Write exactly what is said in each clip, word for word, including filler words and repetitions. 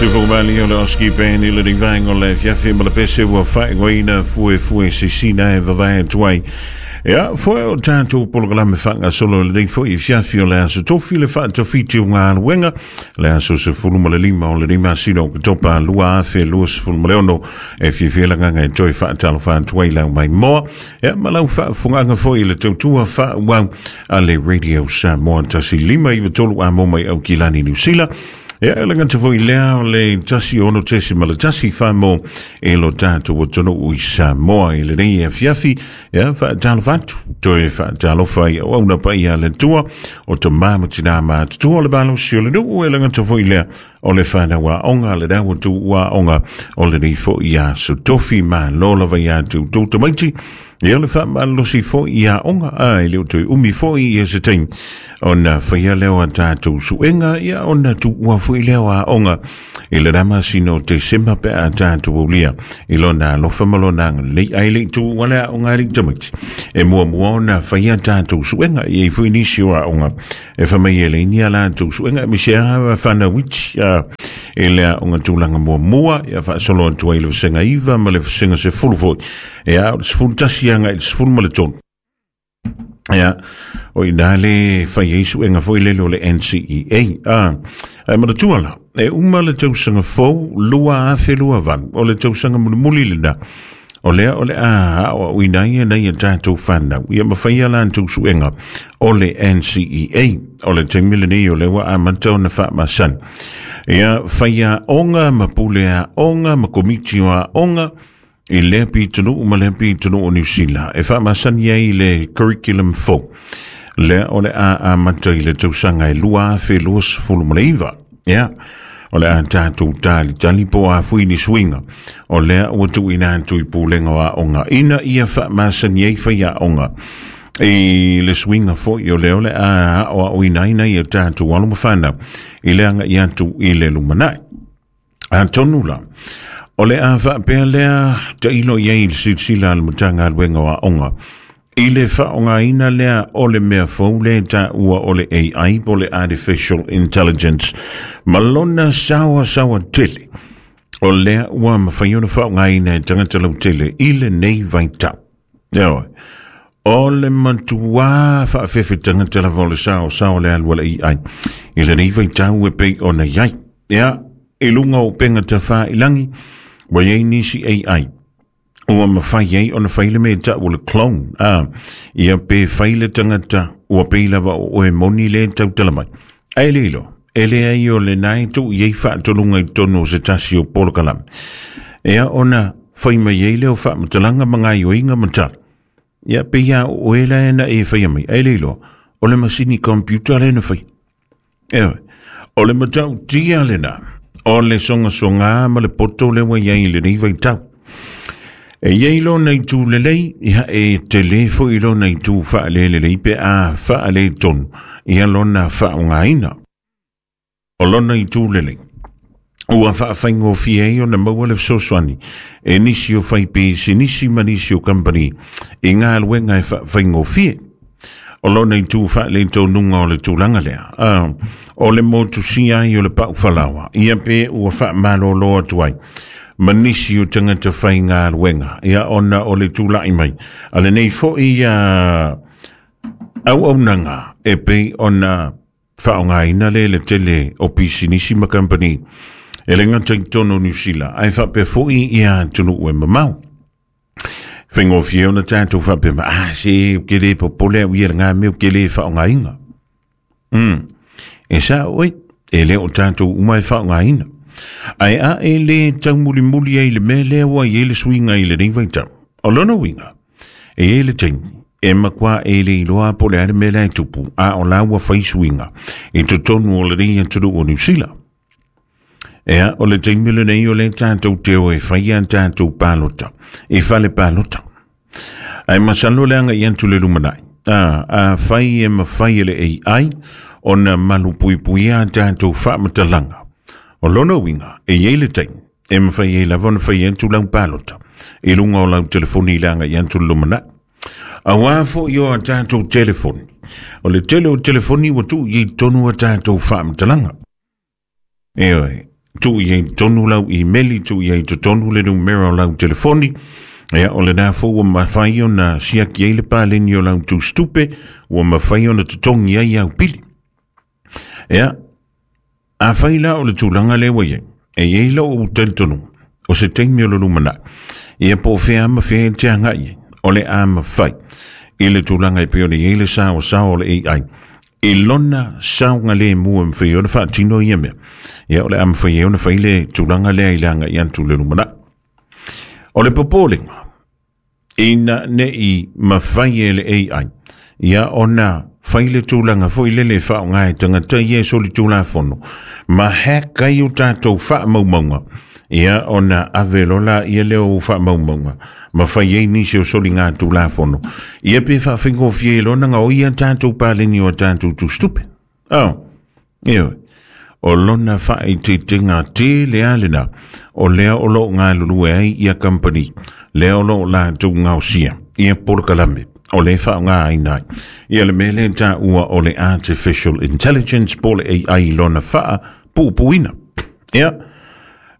Sifumali o le Oski Band i le rivaenga o le afiafi ma le pese ua faaigoaina Fuefue Sisina e vavae atu ai. Ia, foe o tatou polokalame faagasolo i lenei foi afiafi o le aso Tofi le faatafiti o galuega, le aso sefulu ma le lima o lenei masina o Oketopa lua afe lua sefulu ma le ono. E fiafia le agaga e toe faatalofa atu ai lau maimoa, ia ma lau faafogaga foi i le tautua faaauau a le Radio Samoa tasi lima iva tolu a mo mai Aukilani Niu Sila. Ia, e le gata foi lea o le tasi ono tesi ma le tasi whamo e lo tātou atunuu i Samoa i lenei afiafi. Ia, faatalofa atu, toe faatalofa i auauna paia a le Atua, o tamā ma tinā matutua o le malosi o le nuu, e le gata foi lea o le whanau aoga, le dawa tu aoga o lenei foi aso Tofi. Malo lava ia te outou tamaiti. Ia le faamalosi foi ia aoga, a e le o toe umi foi ia se taimi ona faia lea o a tatou suega, ia ona tuua foi lea o aoga i le na masina o Tesema pe a tatou aulia i lona alofa ma lona agalelei. Ae le i tuua le aoga a alii tamaiti, e muamua ona faia tatou suega. E i ai foi nisi o aoga e fai mai e leai ni a latou suega, aemaise lava fanau iti i le aoga tulaga muamua, ia faasolo atu ai le vasega iva ma le vasega sefulu foi. Ia, o le sefulu tasi agai i le sefulu ma le tolu. Ia, o ina le fai ai suega foi lele o le N C E A. Ah, ai manatua la, e uma le tausaga fou lua afe lua valu, o le tausaga mulimuli lena. O lea o le a aoaoina ai e nei a tatou whanau. Ia mawhai a latou suega o le N C E A. O le taimi lenei o lea ua amata ona faamasani. Ia whai aoga ma pule aoga ma komiti o aoga i lea pitonuu ma lea pitonuu o Niu Sila. E faamasani ai le curriculum fou. Lea o le a amata i le tausaga e lua afe lua sefulu ma le iva. Ia, o le a tatou talitali po o a fui ni suiga. O lea ua tuuina atu i pulega o aoga ina ia faamasani ai fai aoga i le suiga foi o lea o le a aoaoina ai nai a tatou alo ma fanau i le aga'i atu i le lumanai. Atonu la, o le a faapea lea tailo i ai i le silasila a le Matagaluega o Aoga i le faaaogaina lea o le mea fou le taua o le A I po o le Artificial Intelligence ma lona saoasaoa tele o lea ua mafai ona faaaogaina e tagata lautele i lenei vaitau. Ioe, o le matuā faafefe tagata lava o le saoasao le alu a le A I i lenei vaitau e pei ona i ai. Ia, i luga o upega tafailagi ua i ai nisi A I ua mafai ai ona fai le mea tau o le clone. Ah, ia pe fai le tagata ua pei lava o oe moni le tautala mai. Ae le iloa, e leai o lena e tuu i ai faatoluga i totonu o se tasi o polokalame. Ia ona fai mai ai lea o faamatalaga ma gaioiga ma tala. Ia pei a o oe la e na e faia mai. Ae le iloa, o le masini computer le na fai. Ioe, o le matautia lena, o le sogasoga ma le poto lea ua i ai i lenei vaitau. E i ai lona itu lelei, ia e tele foi lona itu faalelelei pe a faaletonu ia lona faaaogaina. O lona itu lelei, ua faafaigofie ai ona maua le fesoasoani e nisi o faipisinisi ma nisi o kampani i galuega e faafaigofie. O lona itu faaletonuga o le tulaga lea, ah, o le motusia ai o le paufalaoa, ia pe ua faamalōlō atu ai ma nisi o tagata faigaluega, ia ona o le tula'i mai a lenei foi ia auaunaga e pei ona faaaogaina le le tele o pisinisi ma kampani e le gata i totonu o Niu Sila ae faapea foi ia atunuu e mamao. Faigofie ona tatou faapea mai, ah, se ou te le popole au ia lena mea ou te le faaaogaina. Mm. E sao oi, e le o tatou uma e faaaogaina. Ae a e le taumulimuli ai le mea lea ua i ai le suiga i lenei vaitau. O lona uiga, e i ai le taimi, e makuā e le iloa po o le a le mea lea e tupu, a o la ua fai suiga i totonu o lenei atunuu o Niu Sila. Ea, o le taimi lenei o le tatou te o e fai a tatou palota, i fale palota. Ae masalo le aga'i atu le lumanai. A, a fai e mafai e le A I ona malupuipuia a tatou faamatalaga. O lona uiga, e i ai le taimi, e mafai ai lava ona fai atu lau palota i luga o lau telefoni i le aga'i atu le lumanai. Auā foi o a tatou telefoni. O le tele o telefoni ua tuu i ai totonu a tatou faamatalaga. Ioe, Tuu i ai tonu lau email, tuu i ai totonu le numera o lau telefoni. Ia, o lena foi ua mafai ona siaki ai le paleni o lau tusitupe, ua mafai ona totogi ai au pili. Ia, afai la o le tulaga lea ua i ai, e i ai lou talitonuga, o se taimi o le lumanai, ia po o fea ma fea e te agai ai, o le a mafai i le tulaga e pei ona i ai le saosao o le A I, i lona saogalemu e mafai ona faatino ia mea. Ia, o le a mafai ai ona fai le tulaga lea i le agai atu le lumanai. O le popolega, ina nei mafai e le A I, ia ona fai le tulaga foi lele faaaoga e tagata ia e solitulafono, ma hack ai o tatou faamaumauga, ia ona ave lola ia lea o faamaumauga, ma fai ai nisi o soliga tulafono, ia pe faafaigofie ai lona gaoia tatou paleni o tatou tusitupe. Oh, ioe. O lona faaitiitiga tele a lena, o lea o loo galulue ai ia company, lea o loo latou gaosia ia polokalame o le faaaogaina ai ia le mea lea taua o le artificial intelligence po o le A I lona faapuupuuina. Ia,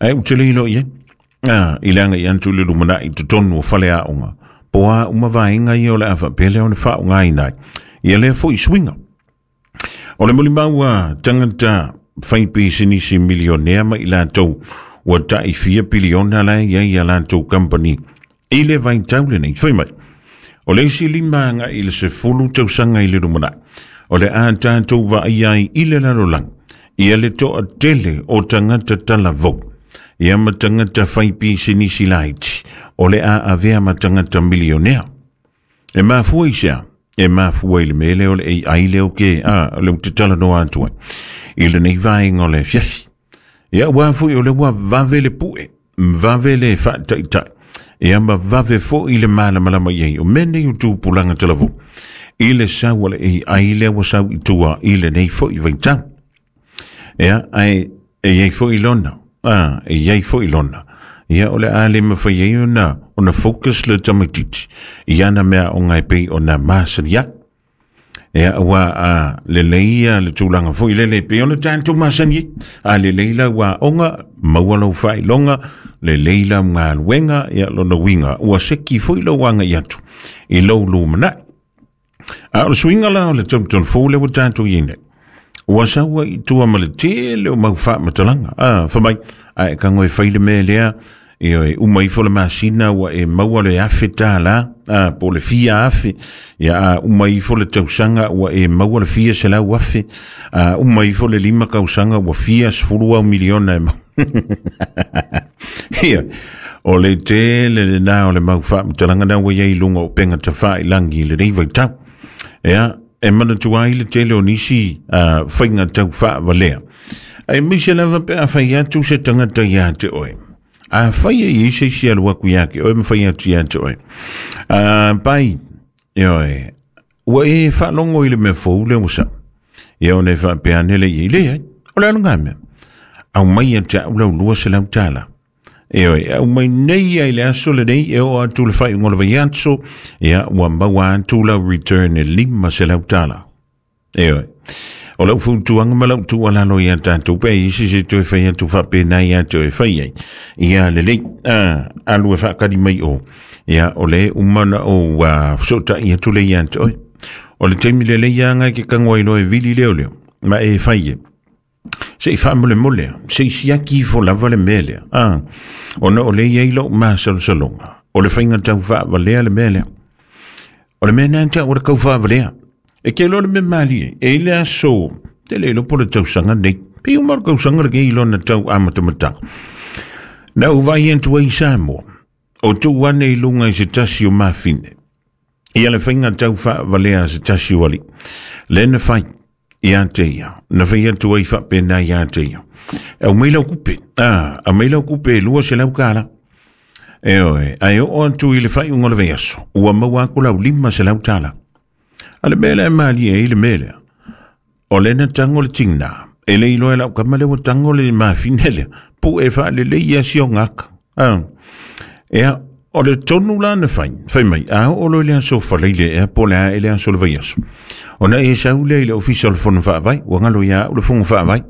ae ou te le iloa i ai. Ah, i le agai atu i le lumanai totonu o faleaoga, po a uma vaega ia o le a faapea lea ona faaaogaina ai ia lea foi suiga. O le molimau a tagata fai pisinisi milionea ma i latou ua tai fia piliona la e i ai a latou company i le vaitau lenei. Fai mai, o le isi lima agai i le sefulu tausaga i le lumanai, o le a tatou vaaia ai i le lalolagi ia le toatele o tagata talavou, ia ma tagata fai pisinisi laiti, o le a avea ma tagata milionea. E mafua i sea, e mafua i le mea lea o le A I lea o ke, a, le ou te talanoa atu ai, i lenei vaega o le afiafi. Ia, ua foi o le ua vave le pue, vave le faataitai, ia ma vave foi le malamalama i ai o mea nei o tupulaga talavou, i le sau o le A I lea ua sau i tua i lenei foi vaitau. Ia, ae e i ai foi lona, ah, e i ai foi lona. Ia, o le a le mafai ai ona, ona focus le tamaitiiti i ana mea o ngai pei ona masani ai. Ia, ua a lelei ia le tulaga foi lele pei ona tatou masani ai. A lelei lau aoga, maua lau faailoga, lelei lau galuega, ia lona uiga, ua seki foi lau agai atu i lou lumanai. A o le suiga la o le tautono fou lea ua tatou i ai nei, ua sau ai i tua ma le tele o mau faamatalaga. Ah, fai mai, ae tago e fai le mea lea, ioe, uma ifo le masina ua e maua le afe tālā, ah, po o le fia afe, ia a uma ifo le tausaga ua e maua le fia selau afe, a uma ifo le lima tausaga ua fia sefulu au miliona e maua. Ia, o le tele lena o le mau faamatalaga na ua i ai i luga o upega tafailagi i lenei vaitau. Ia, e manatua ai le tele o nisi uh, faiga tau faavalea. Aemaise lava pe a fai atu se tagata ia te oe. A fai e i se isi alu aku ia ke oe ma fai atu ia te oe. Uh, pai, ioe, ua e faalogo i le mea fou lea ua sau. Ia ona e faapea ane le i le ai, o le a le ngā mea. Aumai ia te au lau lua selau tālā. Ioe, aumai nei ai le aso lenei e oo atu le faaiuga o le vaiaso, ia ua maua atu lau return e lima selau tālā. Ioe, o lau fautuaga ma lau tuualalo ia tatou pe isi se toe fai atu faapena ia te oe fai ai. Ia lelei, ah, alu e faakali mai o. Ia, o le uma na o uh, fesotai atu le ia te oe. O le taimi lelei ia ngai ke tago ai loa e vili leo leo, ma e fai e. Se i faamolemole, se i siaki ifo lava le mea lea. Ah, ona o le i ai lou masalosaloga, o le faiga tau faavalea le mea lea. O le mea na tau o le kau faavalea. E ke iloa le mea malie, e i le aso, te le iloa po o le tausaga nei, pe uma o le tausaga lenei i lona tau amatamataga. Na ou vaai atu ai i Samoa, o tuu ane i luga i se tasi o mafine, ia le faiga tau faavalea a se tasi o alii. Le na fai ia te ia, na fai atu ai faapena ia te ia. Aumai lau kupe, ah, aumai lau kupe e lua selau tālā. Ioe, ae oo atu i le faaiuga o le vaiaso, ua maua aku lau lima selau tālā. A le mea lea e malie ai le mea lea, o le na tago le tigina, e le iloa e lau kama lea ua tago le mafine lea, pu e faalelei ia si o gaka. Ah, ea, o le tonu la na fai, fai mai, a oo loa i le aso falaile ea po o le a e le aso o le vaiaso. Ona e sau lea i le ofisa o le fono faavae, ua galo ia au le fono faavae.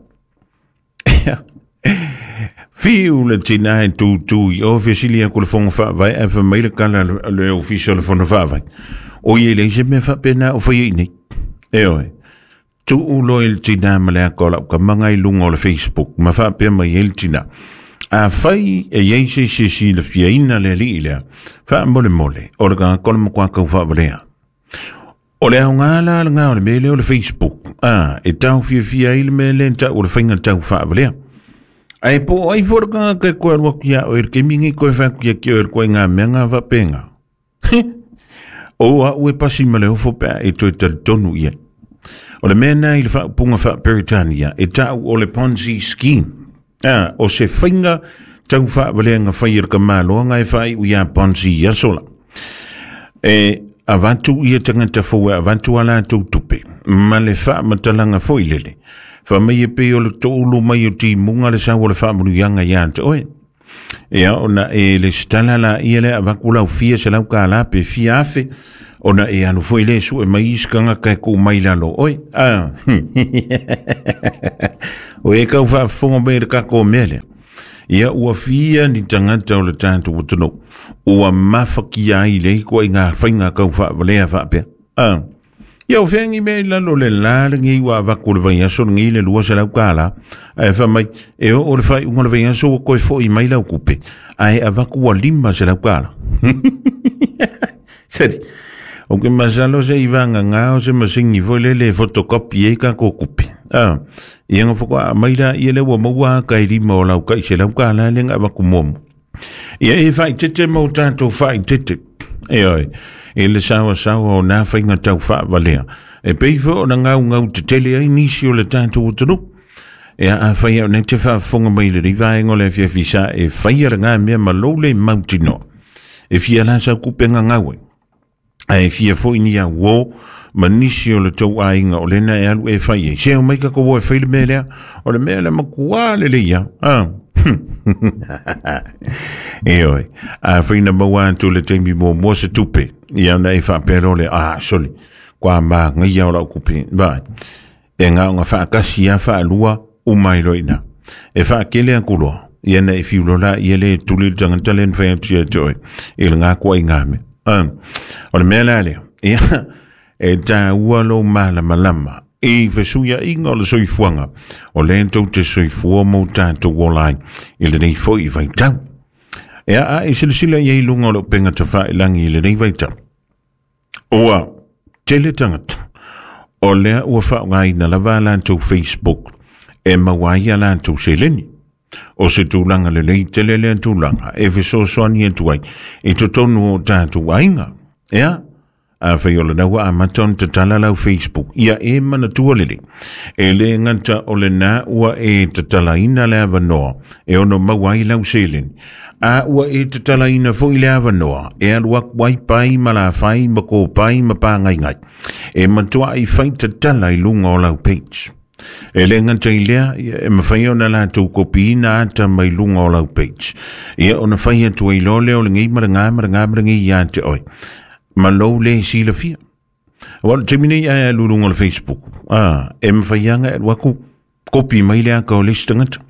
Ea, Fiu le tina e tūtū i o fesilia ku le fonga whaavai a fa mai le kala le ofisa le fonga whaavai. O ie le se mea whapena o whai nei. E oe, tuu lo el tina ma le ako lau ka manga i lunga o le Facebook, ma whapea mai el tina. A whai e iei se se si le fiaina le li lea, wha mole mole, o le ka kola makwa kau whaawalea. O le au ngā la le ngā o le mele o le Facebook, a, e tau fia fia i le mele tau o le whainga tau whaawalea. Ai po ai fora ka ke koe alua kia o el kemingi koe whaku kia kia o el koe ngā mea ngā wapenga. O a ue pasi ma le ofo pea e toi talitonu ia. O le mea nā i le whaupunga wha Peritania e tau o le Ponzi scheme. Ah, o se whainga tau whaawaleanga whai e ka maloa ngai whai ui a Ponzi ia sola. E avantu ia tangata fua, avantu ala tau tupe. Ma le wha matalanga foi lele. Wha mai e pe o le toulu mai o ti munga le sau o le whaamunu ianga ia ante oe. Ia ona e le stala la ia le avaku lau fia se lau ka la pe fia afe. Ona e alu foi le su e mai iskanga kai ku mai lalo oe. Ah. O e kau whaafonga mai le kako mele. Ia ua fia ni tangata o le tātu watono. Ua mawhakia ai le koa i ngā whainga kau whaawalea whaapea. Ah. Ia o whengi me lalo le la le ngi wa vaku le vaiaso ngi le lua se lau kala. Ai fa mai e o le whai unga le vaiaso o koe fo i mai lau kupe. Ai a vaku wa lima se lau kala. Seri. O ke masalo se iwanga ngā o se masingi fo le le fotokopi e ka ko kupe. Ah. Ia nga whakwa mai la ia le ua maua kai lima o lau kai se lau kala le nga vaku momu. Ia e whai tete mau tātou whai tete. E oi. E le sawa sawa o nā whainga tau whaawalea. E peifo o na ngau ngau te tele ai nisi o le tātou o tonu. E a whai au nei te whaafonga mai le riva e ngole fia fisa e whai ara ngā mea ma lole mautino. E fia la sa kupenga ngaue. A e fia foi ni a wō ma nisi o le tau ainga o lena e alu e whai e. Se o mai kako wō e whai le mea lea. O le mea le makua le le ia. Ah. E oi, a whaina maua atu le teimi mō mō se tupe. Ia na e whapero le, ah, soli, kwa mā ngai au lau kupi. Vai, e ngā ngā whaakasi a whaalua u mai loina. E whaakele a kuloa, ia na e whiulola, ia le tuli le tangata len whai atu ia toi, e le ngā kua i ngā me. Um, o le mea la lea, ia, e tā ua lo malama lama, e fesuia inga o le soifuanga, o le tau te soifua mō tātou o lai, i le nei foi i vaitau. Ea a e silasila i lunga o le upenga tawha i langi i le nei vaitau. Oa, tele tangata, o lea ua whaongaina lava lantou Facebook, e mawaia lantou seleni. O se tūlanga le lei tele lea tūlanga, e fesoasoani atu ai, e totonu o tātou ainga. Ea, a whai o le naua a maton te tala lau Facebook, ia e manatua lele. E le ngata o le nā ua e tatalaina le avanoa, e ono mauai lau seleni. A ua e tatalaina foi le avanoa, e alu aku ai pai ma la whai ma ko pai ma pā ngai ngai. E matua i whai tatala i lunga o lau page. E le ngata i lea, e mawhai ona lātou kopiina ata mai lunga o lau page. Ia ona whai atu ai lole o le ngi ma le ngā ma le ngā ma le ngi ia te oi. Ma lou le sila fia. Wala te minei ai alu lunga o le Facebook. Ah, e mawhai anga e waku kopi mai lea ka o le tangata.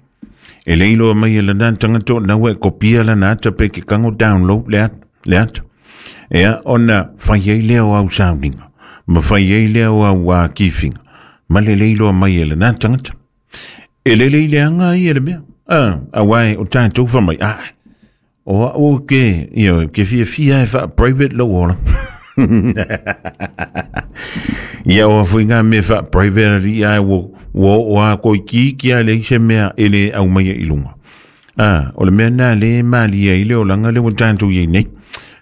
E leilo mai e lana tangata naua e kopia lana ata pe ke kango download le ata. Le ata. Ea ona whai ai lea o au sauninga. Ma whai ai lea o au a kiwhinga. Ma le leilo mai e lana tangata. E le leile anga i e le mea. Ah, a wai o tātou wha mai. Ah, o a o ke, io, ke fia fia e wha private lo ola. Ia o fui ngā mea wha private ri ai wo, wo o a koi ki ki a le se mea e le au mai i lunga. Ah, o le mea nā le mali e le o langa le o tātou i nei.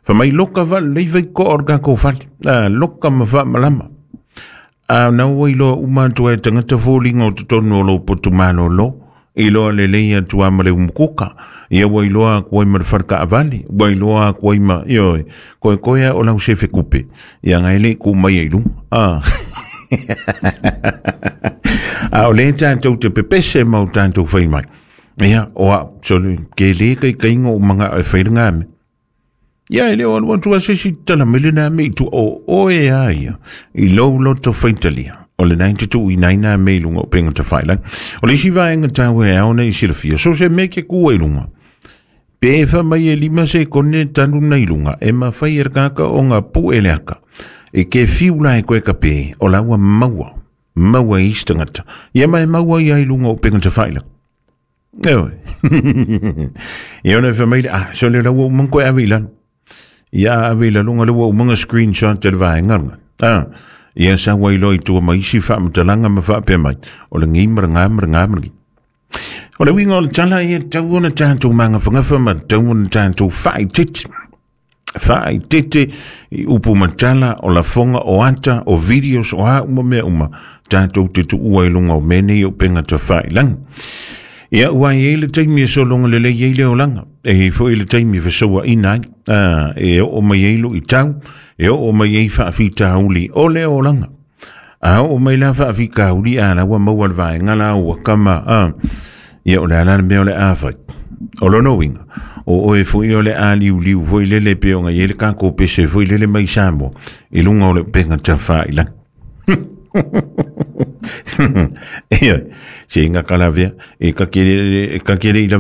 Wha mai loka wha leiwai ko orga ko whale. Ah, loka ma wha malama. A nau i loa uma atu e tangata fōlinga o totonu o lo potu malo lo. I loa le lei atu a male umukuka. Ia ua iloa aku ai ma le wharka avali. Ua iloa aku ai ma, ioi, koe koea o lau sefe kupe. Ia ngai le ku mai e lunga. Ah. A o le tātou te pepese mau tātou whai mai. Ia, o a, so, ke le kai kainga o manga e whaira ngā me. Ia, e leo alu atu a sesi tala mele nā me i tu o oe a ia. I lou loto whaitalia. O le nai te tuu i nai nā mea i luga o upega tafailagi. O le isi vaega taua e ao ona e silafia, so se mea ke kua i luga. Pe e faamai e lima sekone tanu na i luga, e mafai e le tagata ona pue le aka. E ke fiu la e koe ka pe, o la ua maua, maua e isi tagata. Ia ma e maua ia i luga o upega tafailagi. Eoe. Ia ona e faamai le, ah, so le la ua uma ona koe ave i lalo. Ia ave i lalo le ua uma ona screenshot e le vaega lena. Ah, ia sau ai loa i tua ma isi faamatalaga ma faapea mai, o le gi ma le ga ma le ga ma le gi. O le uiga o le tala ia tatau ona tatou magafagafa ma tatau ona tatou faaitete. Faaitete i upu ma tala o lafoga o ata o videos o a uma mea uma tatou te tuua i luga o mea nei o upega tafailagi. Ia ua i ai le taimi e sologa lelei ai le olaga. E i ai foi le taimi e fesouaina ai. Ah, e oo mai ai luitau, e oo mai ai faafitauli o le olaga. A oo mai la faafitauli a la ua maua le vaega la ua kama. Ah, ia o le a la le mea o le a fai. O lona uiga, o oe foi o le a liuliu foi lele pe ona i ai le tatou pese foi lele mai Samoa i luga o le upega tafailagi. Ia, se inga kalavea, e kakele, e kakele i lavea.